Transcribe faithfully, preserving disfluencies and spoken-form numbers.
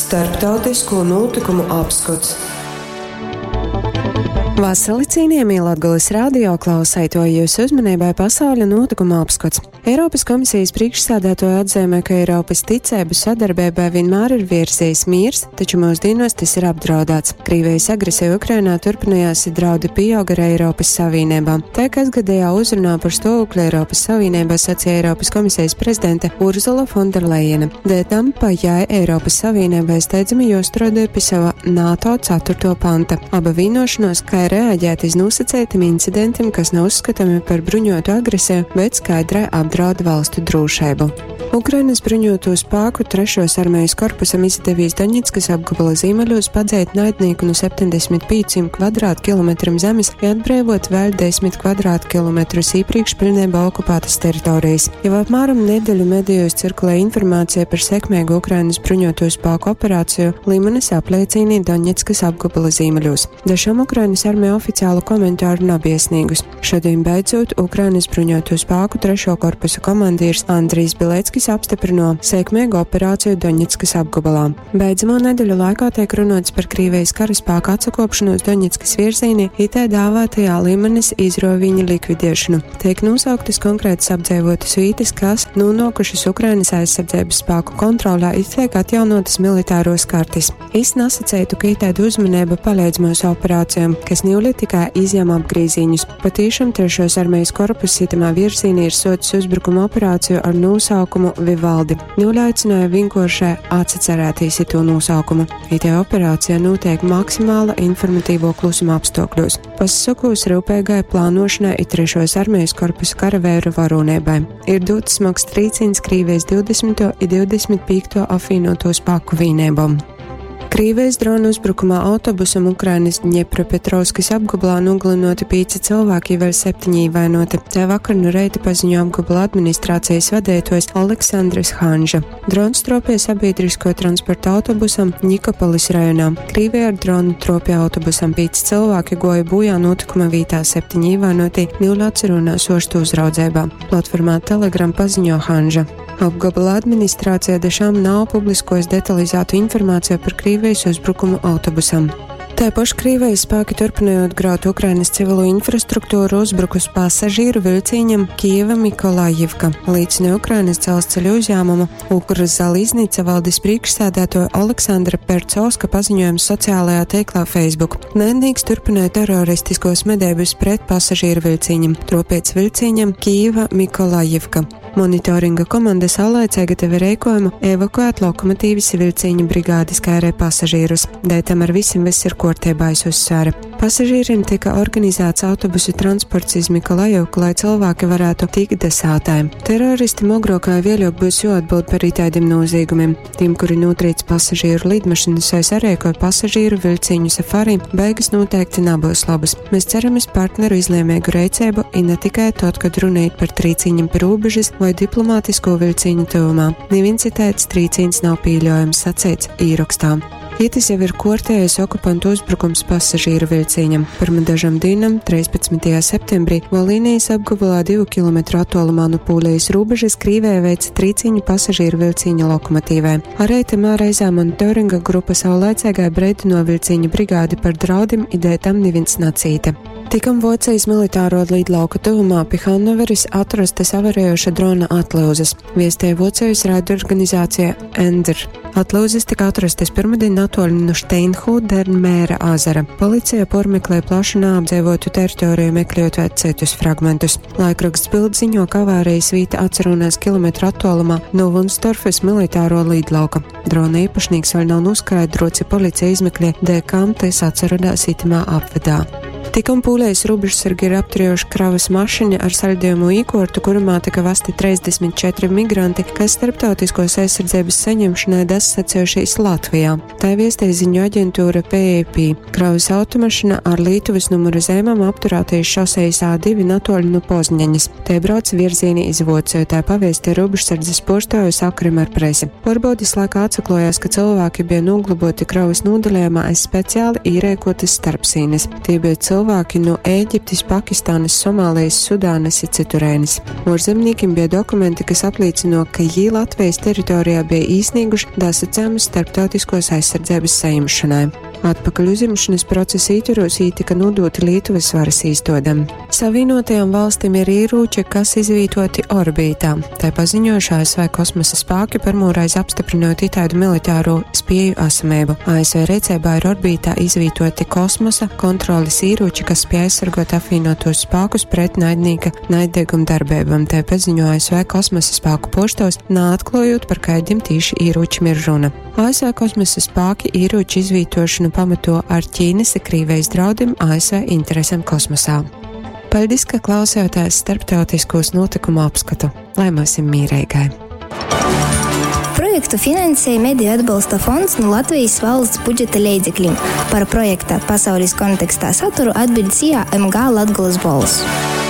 Starptautisko notikumu apskots. Vasali cienījamie Latgales radio klausētoji, jūsu uzmanībai pasauļa notikuma apskats. Eiropas komisijas priekšsādātoja atzīmē, ka Eiropas ticību sadarbībai vienmēr ir virzījis miers, taču mūsdienos tas ir apdraudēts. Krievijas agresija Ukrainā turpinājās, draudi pieauga ar Eiropas Savienībā. Tā kasgadējā uzrunā par stāvokli Eiropas Savienībā sacīja Eiropas komisijas prezidente Urzula Fonderlejena. Dēļ tam pa jai Eiropas Savienībai steidzami jāstrādā pie sava NATO ceturto panta. Aba vienošanos, kā ir reaģēt iz nosacītiem incidentiem, kas nav uzskatāmi par bruņotu agresiju, bet skaidrai apdraud valstu drošību. Ukrainas bruņoto spēku trešos armijas korpusam izdevīs Doņetskas apgabala ziemeļos padzēt naidnieku no septiņdesmit pieciem kvadrātkilometriem zemes i atbrīvot vēl desmit kvadrātkilometrus iepriekš pilnībā okupētas teritorijas. Jau apmēram nedēļu medijos cirkulē informācija par sekmīgu Ukrainas bruņoto spēku operāciju Limanas apliecīnī Doņetskas apgabala ziemeļos. Dažam Ukrainas armija oficiālu komentāru nav iesniegus. Šodien beidzot Ukrainas bruņoto spēku trešo korpusu komandieris Andrijs Bileckis apstiprino sekmīgu operāciju Doņetskas apgabalā. Beidzamo nedēļu laikā tiek runots par Krievijas karaspēku atsakopšanos Doņetskas virzienī, itē dāvātajā Limanas izroviņa likvidēšanu. Tiek nosauktas konkrētas apdzīvotas vietas, kas nonākušas Ukrainas aizsardzības spēku kontrolē, it tiek atjaunotas militāros kartes. Es nesacītu, ka itēda uzmanība palīdz mūsu operācijām, kas niuli tikai izņem apgrīziņus. Patīšām trešos armijas korpus itamā virzienī ir sots uzbrukuma operāciju ar nosaukumu Vivaldi. Niuli aicināja vienkāršai atcerēties to nosaukumu. Itē operācija notiek maksimāla informatīvo klusuma apstākļos. Pasakos rūpīgai plānošanai i trešos armijas korpusa karavēru varonībai. Ir dots smags trīciens Krievijas divdesmito i divdesmit piekto apvienoto spēku vienībām. Krievijas dronu uzbrukumā autobusam Ukrainas Dņepropetrovskas apgabalā nogalinoti pieci cilvēki, vēl septiņi ievainoti. Tā vakar no reita paziņo apgabala administrācijas vadītājs Aleksandrs Hanža. Drons tropīja sabiedrisko transporta autobusam Nikopolis rajonā. Krievija ar dronu tropīja autobusam pieci cilvēki goja bojā notikuma vietā, septiņi ievainoti Nīlāts runās ostu uzraudzībā. Platformā Telegram paziņo Hanža. Apgabala administrācija dešām nav publiskojusi detalizētu informāciju par Krievijas uzbrukumu autobusam. Taipoš Krievijas spēki turpinot graut Ukrainas civilo infrastruktūru uzbrukus pasažīru vilciņam Kieva Mikolajivka. Līdzina Ukrainas dzelzceļu uzņēmumu Ukrzaliznica valdes priekšsēdētoja Aleksandra Percovska paziņojums sociālajā tīklā Facebook. Naidnieks turpināja teroristiskos medības pret pasažīru vilciņam, tropiec vilciņam Kieva Mikolajivka. Monitoringa komanda saulēcēga tevi rēkojumu evakuēt lokomotīvas vilciņu brigādes kā arī pasažīrus. Dēļ tam ar visiem viss ir kārtībā, es uzsvēru. Pasažīriem tika organizēts autobusu transports iz Mikolajivku, lai cilvēki varētu tikt desātājiem. Teroristi mogrokā vēļok būs jāatbild par itādiem noziegumiem. Tiem, kuri notrīc pasažīru lidmašīnas vai sarēkoja pasažīru vilciņu safari, beigas noteikti nebūs labas. Mēs ceram uz partneru izlēmīgu rīcību, i ne tikai tad, kad runājot par trīciņiem pie robežas vai diplomātisko vilciņu tuvumā. Neviens citēts trīciņs nav pieļaujams, sacīts īrakstā. Itis jau ir kortējais okupantu uzbrukums pasažīru vilciņam. Pirma dažam dienam, trīspadsmitajā septembrī, Volīnijas apgabalā divu kilometru attālumā no Pūlijas robežas Krīvē veica trīciņu pasažīru vilciņa lokomotīvē. Arī tamā reizē monitoringa grupa saulēcīgai breidino vilciņa brigādi par draudim, ideja tam neviens nacīta. Tikam Vocijas militāro lidlauka tuvumā pie Hannoveris atrastas avarējoša drona atlūzas, viestēja Vocijas raidorganizācija Ender. Atlūzas tika atrastas pirmdien natoļi no Steinhudermēra azara. Policija pormeklē plašu neapdzīvotu teritoriju, meklējot vēl citus fragmentus. Laikraksts Bild ziņo, ka avārijas vieta atcerunās kilometru attālumā no Wunstorfes militāro lidlauka. Drona īpašnieks vēl nav noskaidrots, ja policija izmeklē, dēļ kam tas atcerunās itamā apvedā. Tikam pūlējas robežsargi ir apturējuši kravas mašīnu ar saļdījumu īkortu, kurumā tika vesti trīsdesmit četri migranti, kas starptautiskos aizsardzības saņemšanai dasacējušies Latvijā. Tā viestēja ziņu aģentūra P A P. Kravas automašīna ar Lietuvas numuru zīmēm apturēties šosejas A divi natoļu no Pozņaņas. Te brauc virzienī iz Vociju, tā pavēstīja robežsardzes portāju sakarim ar presi. Pārbaudes laikā atsaklojās, ka cilvēki bija noglaboti kravas nodalījumā aiz speciāli īrēkotas starpsīnes. Tie bija cilvēki, cylvāki nu Ēģiptis, Pakistānas, Somālijas, Sudānas i cyturēnis. Uorzemnīkim beja dokumenti, kas aplīcyno, ka jī Latvejis teritorijā beja īsnīguši dasacejumus starptautiskuos aizsardzeibys sajimšonai. Atpakaļ uzjimšonys procesa ītvorūs jī tyka nūdūti Lītuvys varys īstuodem. Savīnuotajom valstim ir īrūči, kas izvītuoti orbītā. Tai paziņojuši A S V kosmosa spāki, pyrmūreiz apstyprynot itaidu militāro spieju esameibu. A S V reiceibā ir orbītā izvītuoti kosmosa kontrolis īrūči, kas spēj aizsargot apvīnuotos spākus pret naidnīka naiddeguma darbeibom. Tai paziņo A S V kosmosa spāku puorstuovs, naatkluojot, par kaidim tīši īrūčim ir runa. A S V kosmosa spāki īrūču izvītošanu pamato ar Ķīnas i Krīvejis draudim A S V interesem kosmosā. Paļdis, ka klausījāties starptautiskos notikumu apskatu. Lai myusim mīreigai! Projektu finansēja Mediju atbalsta fonds nu Latvijas valsts budžeta leidzeklim. Par projekta Pasaules kontekstā saturu atbild S I A M G Latgolas Bolss.